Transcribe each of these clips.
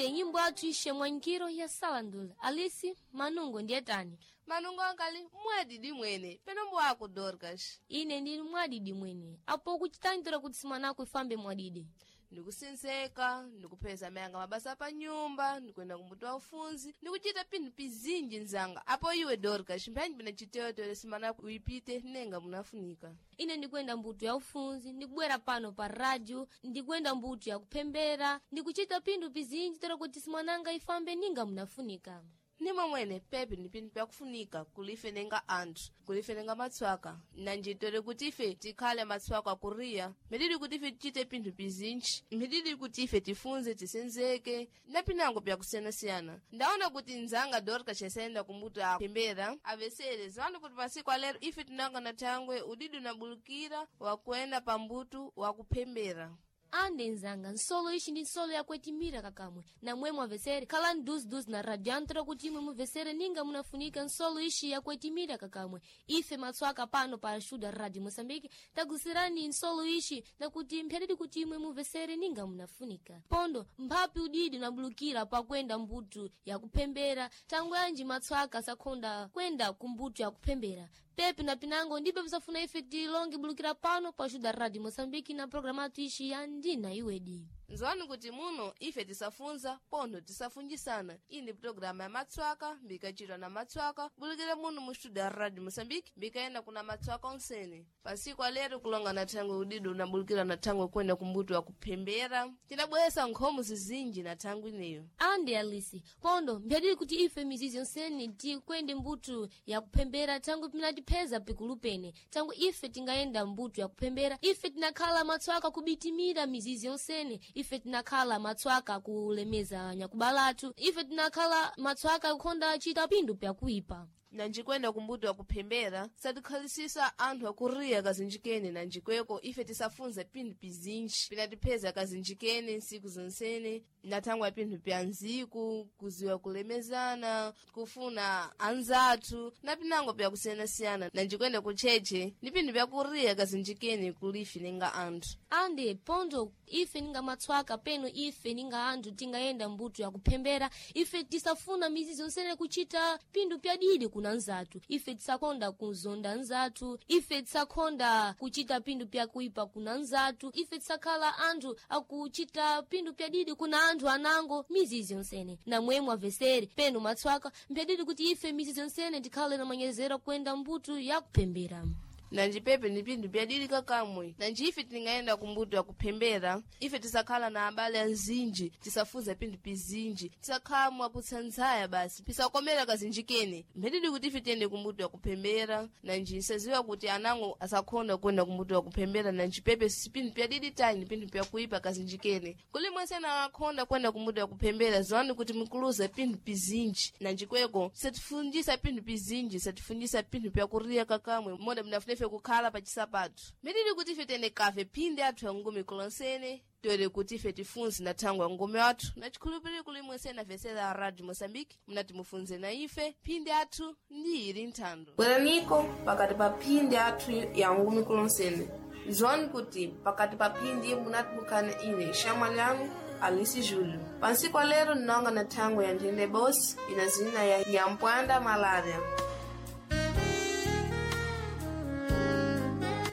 Ande nyimbo athu ishe mwankiro ya salandula alisi manungo ndiye tani. Manungo ankali mwadidi mwene peno mbwako Dorcas. Ine ndili mwadidi mwene apo kuchitangira kuti simanako ifambe mwadidi. Ndikusinzeka, ndikupeza mayanga mabasa pa nyumba, ndikuyenda kumbuto wa ufunzi, ndikuchita pinthu pizinji nzanga. Apo iwe Dorcas, mphanyi pina chiteotele simanako uyipite nenga munafunika. Ine ndikuyenda mbuto ya ufunzi, ndikubwera pano pa radio, ndikuyenda mbuto ya kuphembera, ndikuchita pinthu pizinji tero kuti simananga ifambe ninga munafunika. Ndimo mwene pepe ni pinthu pyakufunika kulife nenga anthu, kulife nenga matswaka. Nanjitole kuti ife tikhale matswaka kuriya, mphididi kuti ife tichite pinthu pizinji, mphididi kuti ife tifunze tisenzeke, na pinango pyakusiyanasiyana. Ndaona kuti nzanga Dorcas chasayenda kumbuto aphembera, avesere ziwani kuti pasiku alero ife tinanga na thangwe udidi unabulukira wakuenda pambutu wakuphembera. Ande nzanga nsolo ishi ndi nsolo yakwetimira kakamwe namwe mwavesere khalani duziduzi na radio antero kuti imwe muvesere ninga munafunika nsolo ishi yakwetimira kakamwe. Ife matswaka pano pa shuda Radio Moçambique tagusirani nsolo ishi nakuti mphyadidi kuti imwe muvesere ninga munafunika. Pondo mphapi udidi unabulukira pakwenda mbutu yakuphembera thangwe anji matswaka sakhonda kwenda kumbutu yakuphembera. Pepe na pinango ndibe pisafuna ife tilonge bulukira pano pa shuda Radio Moçambique na programa athu ishi ya ndina iwedi. Nzwani kuti muno ife tisafunza pontho tisafunjisana. Iyi ndi pulogalamu ya matswaka mbikachitwa na matswaka bulukira muno mu studio ya Radio Moçambique mbikayenda kuna matswaka onsene. Pasiku alero kulonga na thangwe udido unabulukira na thangwe kwenda kumbuto wa kuphembera tinabweresa nkhomo zizinji na thangwe ineyo. Ande alisi pondo mphyadidi kuti ife mizizi yonsene tikwende mbutu yakuphembera thangwe pinatipheza pikulu pene thangwe ife tingayenda mbutu yakuphembera ife tinakhala matswaka kubitimira mizizi yonsene ife tinakhala matswaka kulemeza nyakubalatu ife tinakhala matswaka kukhonda chita pinthu pyakuipa. Nanjikwenda kumbuto wa kuphembera satikhalisisa anthu akuriya kazinjikene nanjikweko ife tisafunza pinthu pizinji pinatipheza kazinjikene nsiku zonsene na thangwe ya pinthu pya nziku kuziwa kulemezana kufuna anzathu na pinango pyakusiyanasiyana. Nanjikwenda kutcheche ni pinthu pyakuriya kazinjikene kulife ninga anthu. Ande pondo ife ninga matswaka peno ife ninga anthu tingayenda mbuto yakuphembera ife tisafuna mizizi yonsene kuchita pinthu pyadidi kuna nzathu ife tisakonda kuzonda nzathu ife tisakonda kuchita pinthu pyakuipa kuna nzathu ife tisakhala anthu akuchita pinthu pyadidi kuna anthu anango mizizi yonsene. Namwe mwavesere peno matswaka mpyadidi kuti ife mizizi yonsene tikhale na manyezero kuyenda mbuto yakuphembera. Nanji pepe ni pinthu pyadidi kakamwe. Nanji ife tingayenda kumbuto ya kuphembera ife tisakhala na abale anzinji tisafunza pinthu pizinji tisakhala mwakutsanzaya basi pisakomera kazinjikene. Mphididi kuti ife tiyende kumbuto ya kuphembera nanji nsaziwa kuti anango asakhonda kuyenda kumbuto ya kuphembera. Nanji pepe si pinthu pyadidi tayi ni pinthu pyakuipa kazinjikene. Kuli mwese akhonda kuyenda kumbuto ya kuphembera ziwani kuti mukuluza pinthu pizinji. Nanji kweko satifunjisa pinthu pizinji satifunjisa pinthu pyakuriya kakamwe moda mnafuna ife kukhala pa chisapatu. Mphididi kuti ife tiyende kafe phindi athu ya ngumi kulonsene toere kuti ife tifunze na thangwe ya ngumi athu na chikhulupiriro kuli mwese avesera a Radio Moçambique munati mufunze na ife phindi athu ndi ili nthando. Bweraniko pakati pa phindi athu ya ngumi kulonsene. Nzwani kuti pakati pa phindi munati mukhane ine shamwa lyanu Alice Júlio. Pansiku alero nnonga na thangwe ya nthende bosi ina zina ya Nyampwanda malaria.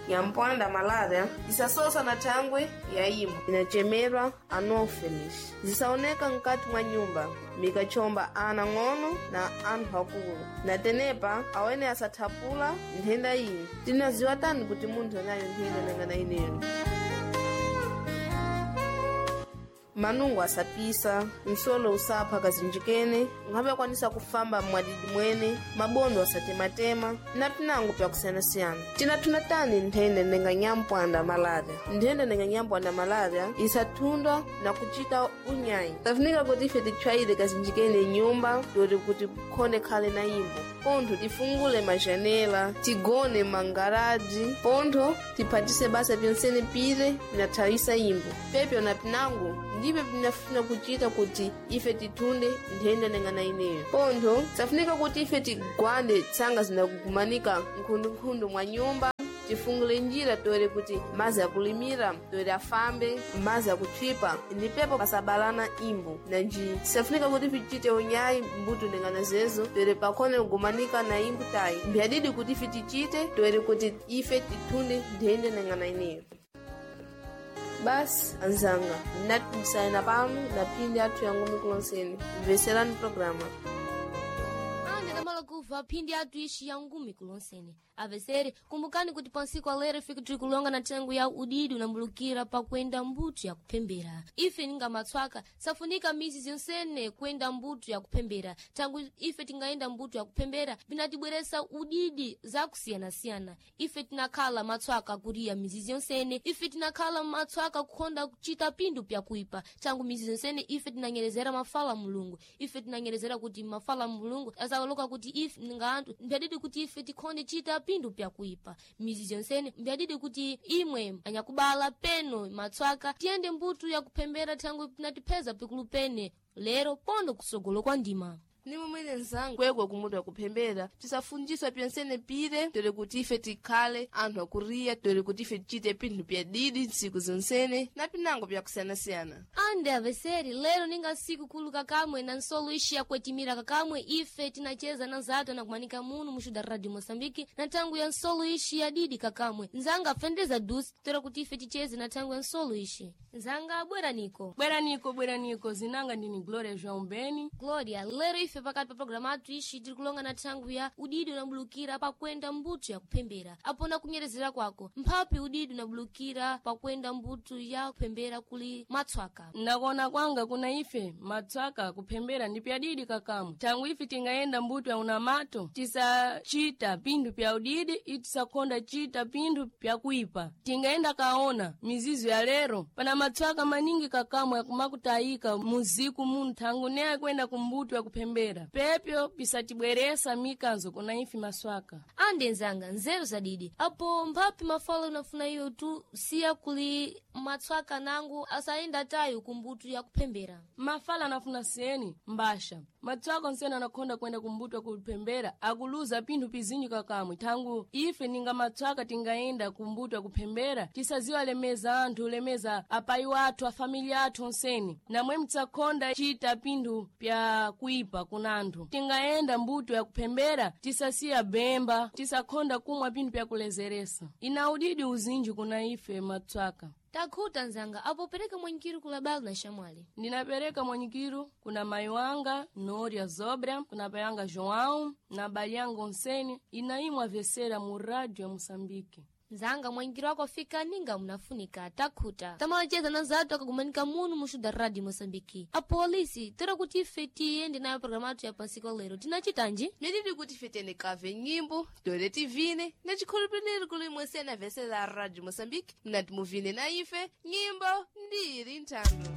Nyampwanda malaria isasosa na thangwe ya imo inachemerwa anopheles zisaoneka mkati mwa nyumba mikachomba ana ng'ono na anthu akulu. Na tenepa awene asathapula nthenda iyi. Tinaziwa tani kuti munthu anayo nthenda nangana ineyo. Manungo asapisa, msolo usapha kazinjikene, nkhabe akwanisa kufamba mwadidi mwene, mabondo asatematema, na pinango pyakusiyanasiyana. Tinathuna tani nthenda nenga nyampwanda malaria. Nthenda nenga nyampwanda malaria isathundwa na kuchita unyayi. Tafunika kuti ife titchwayire kazinjikene nyumba yoti kuti khonde khale na imbo. Pontho tifungule majanela, tigone mangaraji, pontho tiphatise basa pyonsene pire pinathawisa imbo. Pepyo na pinango ndipe pinafuna kuchita kuti ife tithunde nthenda nengana ineyo. Pontho safunika kuti ife tigwande tsanga zinakugumanika nkhundunkhundu mwa nyumba. Tifungule njira toere kuti mazi akulimira toere afambe, mazi akutchipa ndipepo pasabalana imbo. Nanji tisafunika kuti tichite unyayi mbuto ndengana zezo toere pakhone kugumanika na imbo tayi. Mbyadidi kuti ife tichite toere kuti ife tithunde nthenda nengana ineyo. Basi anzanga, ndinatimisana pano na phindi athu yangumi kulonseni. Mveserani programa. Ande tamala kuva phindi athu ixi ya ngumi kulonsene. Avesere, kumbukani kuti pansiku alero ife tiri kulonga na thengo ya udidi unambulukira pakuenda mbuto ya kuphembera. Ife ninga matswaka safunika mizi zonsene kuenda mbuto ya kuphembera. Tangu ife tingaenda mbuto ya kuphembera binatibweresa udidi zakusiyanasiyana. Ife tinakhala matswaka kuriya mizizi yonsene, ife tinakhala matswaka kukhonda kuchita pindu pyakuipa. Tangu mizi zonsene ife tinanyerezera mafala a Mulungu. Ife tinanyerezera kuti mafala a Mulungu azaloka kuti ife ninga anthu mbyadidi kuti ife tikhonde chita pindu pyakuipa. Mizi yonsene mbyadidi kuti imwe anyakubala peno matswaka tiyende mbuto yakuphembera thangu tinatipeza pikulu pene lero pondo kusogolo kwa ndima. Ni mumwene nzanga kwekwe kumutu akuphembera tisafunjiswa pyonsene pire tere kuti ife tikhale anthu akuriya tere kuti ife tichite pinthu pyadidi ntsiku zonsene na pinango pyakusiyanasiyana. Ande aveseri, lero ninga siku kulu kakamwe na nsolo ixi yakwetimira kakamwe ife tinacheza na nzatu anakumanika munu muxu da Radio Moçambique na thangu ya nsolo ixi ya didi kakamwe. Nzanga afendeza dusi toera kuti ife ticheze na thangu ya nsolo ixi. Nzanga bweraniko. Bweraniko, bweraniko, zinanga ndini Gloria João Beni. Gloria, lero ife pakati pa programa athu ixi tiri kulonga na thangu ya udidi unabulukira pakuenda mbuto ya kuphembera. Apo na kunyerezera kwako, mphapi udidi unabulukira pakuenda mbuto ya kuphembera kuli matswaka. Nakuona kwanga kuna ife matswaka kuphembera ndi pyadidi kakamwe. Thangu ife tingayenda mbuto ya unamato tisachita pinthu pya udidi itisakhonda chita pinthu pyakuipa. Tingayenda kaona mizizo ya lero pana matswaka maningi kakamwe akumakutayika muziku muno thangu ne akuyenda kumbuto ya kuphembera. Pepyo pisatibweresa mikanzo kuna ife maswaka. Ande nzanga nzeru zadidi apo mphapi mafala unafuna iwe tu siya kuli matswaka nangu asayenda tayo kumbuto ya kuphembera. Mafala anafuna seni mbasha matswaka onsene anakhonda kuyenda kumbuto kuphembera akuluza pinthu pizinji kakamwe. Thangu ife ninga matswaka tingayenda kumbuto kuphembera tisaziwa lemeza anthu lemeza apayi wathu afamiliya athu onsene namwe mtsakhonda chita pinthu pya kuipa kuna anthu. Tingayenda mbuto ya kuphembera tisasiya bemba tisakhonda kumwa pinthu pyakulezeresa. Ina udidi uzinji kuna ife matswaka. Takhuta nzanga apo pereka mwanyikiru kulabala na xamwali. Ndinapereka mwanyikiru kuna mayi wanga Noria Zobra, kuna pai wanga João na bali yanga onsene inaimwe avesera mu rádio ya Moçambique. Nzanga mwangiro wako afika ninga munafunika takhuta. Tamalacheza na nzatu akagumanika munu muxu da Radio Moçambique. Apolisi tera kuti ife tiyende nayo programa athu ya pansiku lero tinachitanji? Mididi kuti ife tiyende kave nyimbo toere tivine na chikhulupiriro kuli imwe sena vesera Radio Moçambique mnati muvine na ife nyimbo ndiri nthando.